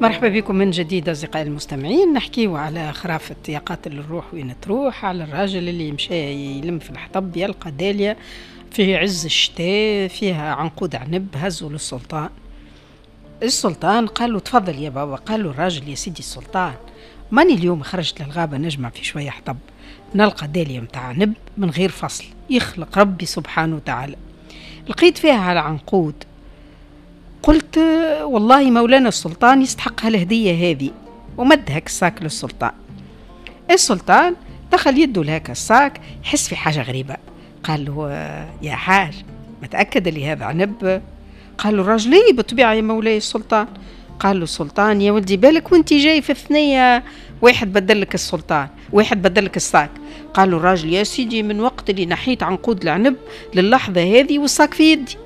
مرحبا بكم من جديد أصدقائي المستمعين. نحكيو على خرافة يا قاتل الروح وين تروح، على الراجل اللي مشى يلم في الحطب يلقى دالية في عز الشتاء فيها عنقود عنب، هزوا للسلطان. السلطان قال له تفضل يا بابا. قال له الراجل يا سيدي السلطان، ماني اليوم خرجت للغابة نجمع في شوية حطب، نلقى دالية متاع عنب من غير فصل، يخلق ربي سبحانه وتعالى، لقيت فيها على عنقود، قلت والله مولانا السلطان يستحق هالهدية هذه، ومد هاك ال sac للسلطان. السلطان دخل يده لهاك ال sac، يحس في حاجة غريبة. قال له يا حاج متأكد اللي هذا عنب؟ قال له الراجل ايه بالطبيعة يا مولاي السلطان. قال له السلطان يا ولدي بالك وانت جاي في الثنية واحد بدلك السلطان، واحد بدلك ال sac. قال له الراجل يا سيدي من وقت اللي نحيت عنقود العنب للحظة هذه وال sac في يدي.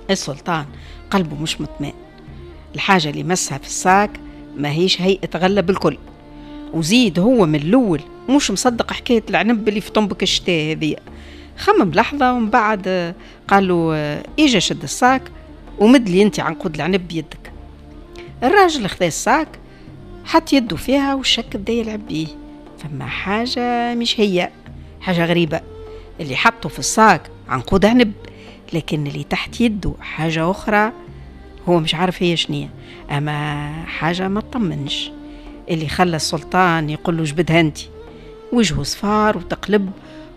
السلطان قلبه مش مطمئن، الحاجة اللي مسها في ال sac ما هيش هيئة غلة بالكل، وزيد هو من الأول مش مصدق حكاية العنب اللي في طنبك الشتاء هذه. خمم لحظة ومن بعد قال له إجا شد ال sac ومد لي انت عنقود العنب بيدك. الراجل خذا ال sac حط يده فيها والشك بدا يلعب بيه، فما حاجة مش هي، حاجة غريبة، اللي حطه في ال sac عنقود عنب، لكن اللي تحت يده حاجة أخرى هو مش عارف هي شنية، أما حاجة ما تطمنش. اللي خلى السلطان يقول له جبدها انت، وجهه صفار وتقلب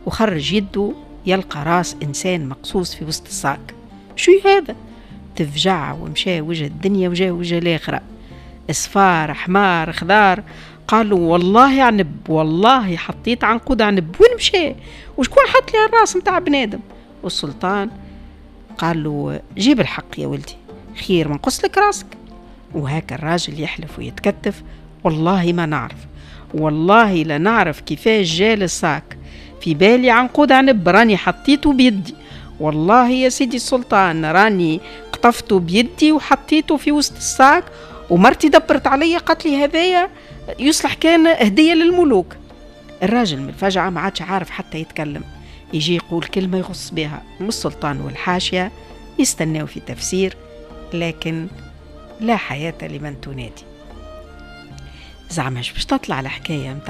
وخرج يده يلقى راس إنسان مقصوص في وسط ال sac. شو هذا؟ تفجع ومشى وجه الدنيا وجه وجه الآخرة، اصفار حمار خضار. قالوا والله عنب، والله حطيت عنقود عنب، وين مشى؟ وشكون حط لي الراس متاع بنادم؟ والسلطان قال له جيب الحق يا ولدي، خير ما نقص لك راسك. وهاك الراجل يحلف ويتكتف، والله ما نعرف، والله لا نعرف كيفاش جال ال sac، في بالي عنقود عنب راني حطيته بيدي، والله يا سيدي السلطان راني قطفته بيدي وحطيته في وسط ال sac، ومرتي دبرت عليا قالت لي هذايا يصلح كان هدية للملوك. الراجل من الفجعة ما عادش عارف حتى يتكلم، يجي يقول كلمة يغص بها، والسلطان والحاشية يستناو في تفسير، لكن لا حياة لمن تنادي. زعما باش تطلع الحكاية متاع